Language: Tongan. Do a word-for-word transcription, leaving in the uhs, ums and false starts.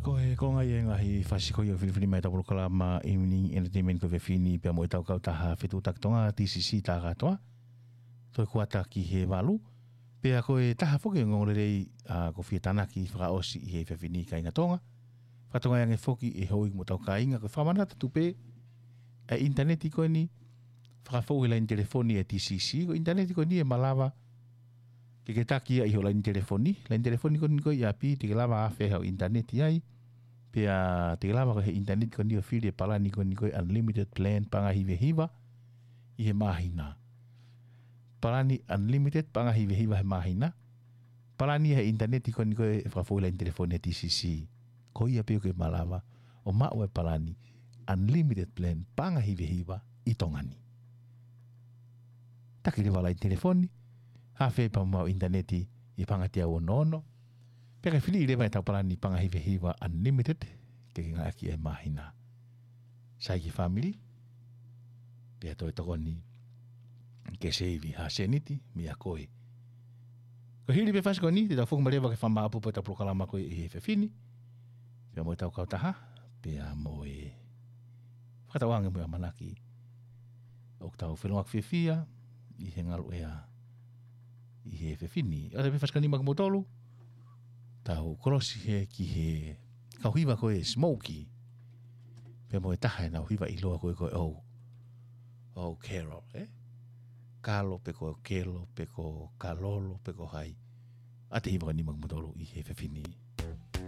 Ko e konga ia e ngaahi fasi ko ia ʻoku filifili mai ʻetau polokalama Evening Entertainment ko e efiafi ni pea mo ʻetau kautaha Fetuʻutaki Tonga, T C C, tā kātoa. Toe kuata ki he valu. Pea ko e taha foki e ongoongolelei ʻoku fie tānaki fakaʻosi ʻi he efiafi ni, kāinga Tonga. Fakatokangaʻi ange foki ʻe houʻeiki mo hotau kāinga ko e fakamanatu atu pē ʻa e ʻinitaneti ko eni, fakafou he laine telefoni ʻa e T C C. Ko e ʻinitaneti ko eni ʻe malava ke ke taki ia ʻi ho laine telefoni. Laine telefoni ko eni ko ia ʻi ʻapi, te ke lava ʻo afe haʻo ʻinitaneti ai. Pea te ke lava ko e he ʻinitaneti ko eni ʻo fili e palani ko eni ko e unlimited plan, paʻanga ʻe hiva hiva ʻi he māhina. Palani unlimited, paʻanga ʻe hiva hiva he māhina. Palani he ʻinitaneti ko eni ko e fakafou he laine telefoni ʻa e T C C. Ko ia pē ʻoku ke malava ʻo maʻu e palani unlimited plan, paʻanga ʻe hiva hiva ʻi Tonga ni. Taki leva laine telefoni, afe pea mo e ʻinitaneti ʻi he paʻanga teau ono ono. Pea ke fili leva ʻetau palani paʻanga ʻe hiva hiva unlimited, ke ke ngāueʻaki he māhina. Sai ki he fāmili, pea toe tokoni ke seivi ha sēniti meiate koe. Ko e hili pē fasi ko eni, te tau foki mai leva ki he fakamāʻopoʻopo ʻetau polokalama ko ia ʻi he efiafi ni pea mo ʻetau kautaha, pea mo e fakatauange mo e ʻamanaki ʻoku tau felōngoaki fiefia ʻi he ngaluʻea ʻi he efiafi ni. ʻOatu pē fasi ko eni maʻa kimoutolu, tau kolosi hē ki he kau hiva ko e Smokey pea mo e taha ʻenau hiva ʻiloa ko e, ko e ʻOu, ʻOu Kelo, ē? Kalo pe ko Kelo pe ko Kalolo pe ko hai. ʻOatu e hiva ko eni maʻa kimoutolu ʻi he efiafi ni.